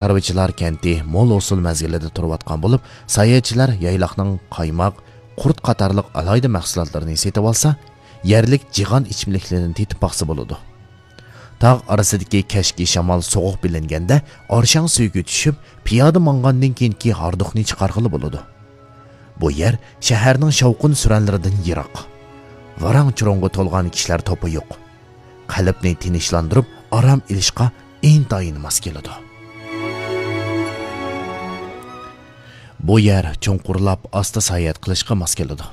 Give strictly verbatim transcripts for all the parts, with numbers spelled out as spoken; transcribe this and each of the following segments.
چارۋىچىلار كەنتى مول ھوسۇل مەزگىلىدە تۇرۇۋاتقان بولۇپ، ساياھەتچىلەر يايلاقنىڭ قايماق، قۇرت قاتارلىق ئالاھىدە مەھسۇلاتلىرىنى سېتىۋالسا، يەرلىك جىغان ئىچىملىكلىرىنى تېتىپ باقسا بولىدۇ. تاغ ئارىسىدىكى كەچكى شامال سوغۇق بىلىنگەندە، ئارشاڭ سۈيىگە چۈشۈپ، پىيادە ماڭغاندىن كېيىنكى ھاردۇقنى چىقارغىلى بولىدۇ. بۇ يەر شەھەرنىڭ شاۋقۇن-سۈرەنلىرىدىن يىراق. ۋاراڭ-چۇرۇڭغا تولغان كىشىلەر توپى يوق. قەلبنى تىنچلاندۇرۇپ، ئارام ئېلىشقا ئىنتايىن ماس كېلىدۇ. بۇ يەر چوڭقۇرلاپ، ئاستا ساياھەت قىلىشقا ماس كېلىدۇ.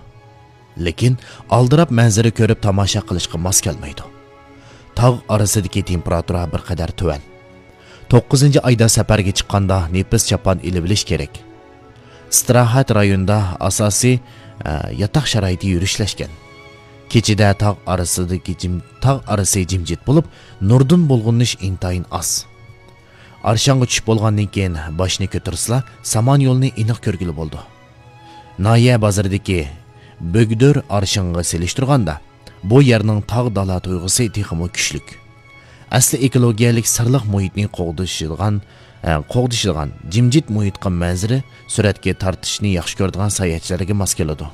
لېكىن ئالدىراپ مەنزىرە كۆرۈپ تاماشا قىلىشقا ماس كەلمەيدۇ. تاغ ئارىسىدىكى تېمپېراتۇرا بىر قەدەر تۆۋەن. توققۇزىنچى ئايدا سەپەرگە چىققاندا نېپىز چاپان ئېلىۋېلىش كېرەك. ئىستىراھەت رايونىدا ئاساسىي، ئە، ياتاق شارائىتى يۈرۈشلەشكەن. كېچىدە تاغ ئارىسىدىكى جىم-، تاغ ئارىسى جىمجىت بولۇپ، نۇردىن بۇلغىنىش ئىنتايىن ئاز. ئارشاڭغا چۈشۈپ بولغاندىن كېيىن باشنى كۆتۈرسىلا، سامان يولىنى ئېنىق كۆرگىلى بولىدۇ. ناھىيە بازىرىدىكى بۆگدۈر ئارشىڭغا سېلىشتۇرغاندا، بۇ يەرنىڭ تاغ دالا تۇيغۇسى تېخىمۇ كۈچلۈك. ئەسلى ئېكولوگىيەلىك سىرلىق مۇھىتنى قوغدىشىدىغان، ئە، قوغدىشىدىغان جىمجىت مۇھىتقا مەنزىرە سۈرەتكە تارتىشنى ياخشى كۆرىدىغان ساياھەتچىلەرگە ماس كېلىدۇ.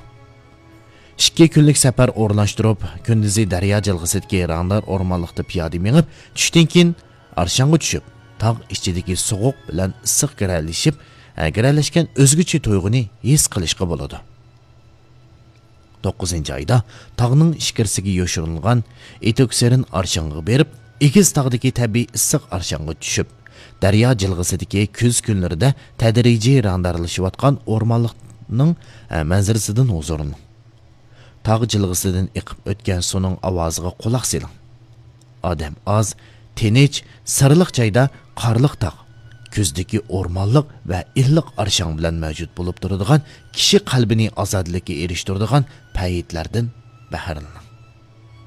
ئىككى كۈنلۈك سەپەر ئورۇنلاشتۇرۇپ، كۈندۈزى دەريا جىلغىسىدىكى رەڭدار ئورمانلىقتا پىيادە مېڭىپ، چۈشتىن كېيىن ئارشاڭغا چۈشۈپ، تاغ ئىچىدىكى سوغۇق بىلەن ئىسسىق گىرەلىشىپ، ئە، گىرەلەشكەن ئۆزگىچە تۇيغۇنى ھېس قىلىشقا بولىدۇ. توققۇزىنچى ئايدا تاغنىڭ ئىچكىرىسىگە يوشۇرۇنغان ئېتوكسېرىن ئارشاڭغا بېرىپ، ئېگىز تاغدىكى تەبىئىي ئىسسىق ئارشاڭغا چۈشۈپ، دەريا جىلغىسىدىكى كۈز كۈنلىرىدە تەدرىجىي رەڭدارلىشىۋاتقان ئورمانلىقنىڭ، ئە، مەنزىرىسىدىن ھۇزۇرلىنىڭ. تاغ جىلغىسىدىن ئېقىپ ئۆتكەن سۇنىڭ ئاۋازىغا قۇلاق سېلىڭ. ئادەم ئاز، تىنچ، سىرلىق جايدا قارلىق تاغ، كۈزدىكى ئورمانلىق ۋە ئىللىق ئارشاڭ بىلەن مەۋجۇت بولۇپ تۇرىدىغان، كىشى قەلبىنى ئازادىلىككە ئېرىشتۈرىدىغان پەيتلەردىن بەھرىلىنىڭ.